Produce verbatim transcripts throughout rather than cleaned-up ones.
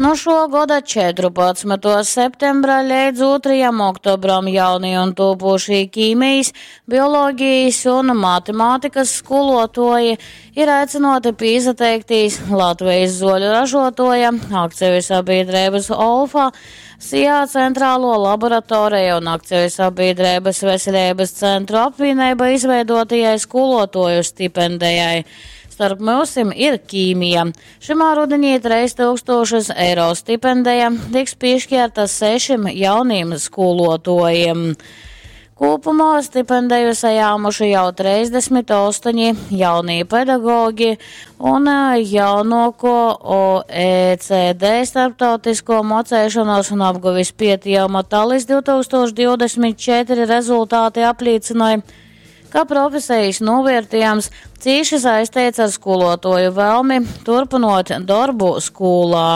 No šo gada četrpadsmituo septembra leidz otrajam oktobram jaunie un topošie ķīmijas, bioloģijas un matemātikas skolotoji ir aicināti piesateikties Latvijas zoļu ražotoja, akciju sabiedrības Olfa, SIA centrālo laboratoriju un akciju sabiedrības veselības centru apvienība izveidotajai skolotoju stipendijai. Starp mūsim ir ķīmija. Šimā rudenī treis tūkstošus eiro stipendija tiks piešķirta sešiem jauniem skolotojiem. Kopumā stipendiju saņēmuši jau trīsdesmit astoņi jaunie pedagogi un jaunāko O E C D starptautisko mocēšanos un apguvis pietījuma Talis divtūkstoš divdesmit četri rezultāti apliecināja, ka profesijas novērtējums cīši saistīts ar skolotoju vēlmi turpinot darbu skolā.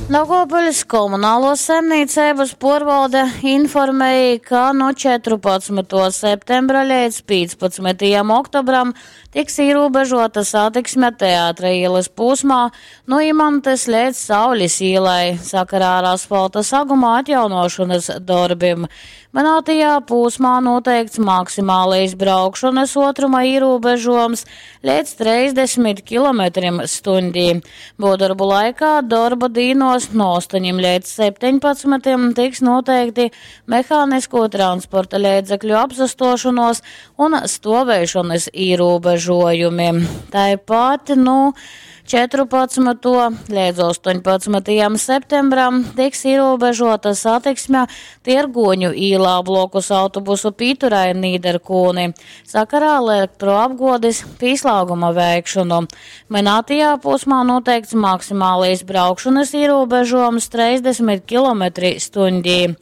Daugavpils komunālo saimniecības porvalde informēja, ka no četrpadsmito septembra līdz piecpadsmitajam oktobram tiks ierobežota satiksme Teātra ielas posmā no Imantes līdz Saules ielai sakarā ar asfalta saguma atjaunošanas darbiem. Minētajā posmā noteikts maksimālais braukšanas otruma ierobežojums līdz trīsdesmit kilometriem stundī. Būvdarbu laikā darba dīnos no astoņiem līdz septiņpadsmitiem tiks noteikti mehānisko transporta līdzekļu apsastošanos un stovēšanas ierobežojumi. Tāpat, nu, četrpadsmito līdz astoņpadsmitajam septembram tiks ierobežota satiksme Tirgoņu īlā blokus autobusu pīturai Nīderkūni sakarā elektroapgodes pīslāguma veikšanu. Minētajā posmā noteikts maksimālais braukšanas ierobežojums trīsdesmit kilometri stundī.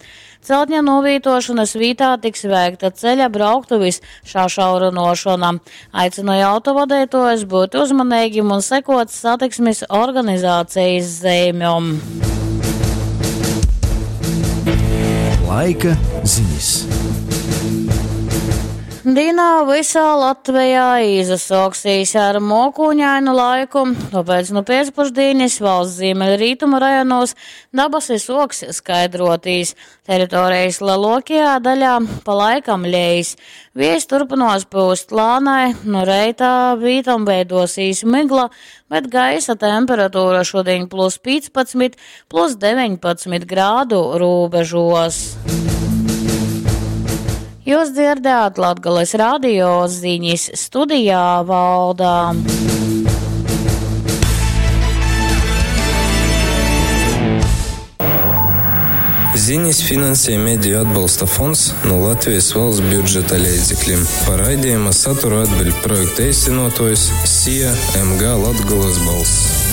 Celtņa novītošanas vītā tiks veikta ceļa brauktuvis šašaurinošana. Aicināja autovadītājus būt uzmanīgiem un sekot satiksmes organizācijas zīmēm. Laika ziņas. Dienā visā Latvijā izasauksīs ar mokūņainu laiku, tāpēc nu pēcpusdienas valsts ziemeļrietumu rajonos dabasi soks skaidrotīs. Teritorijas lielākajā daļā pa laikam lejas. Vējs turpinās pūst lānai, no reitā vītam veidosīs migla, bet gaisa temperatūra šodien plus piecpadsmit, plus deviņpadsmit grādu robežos. Jūs dzirdējāt Latgales radio ziņas studijā Valdā. Ziņas finansē Mediju atbalsta fonds no Latvijas valsts budžeta līdzekļiem. Par raidījuma saturu atbild projekta īstenotājs S I A M G Latgales balss.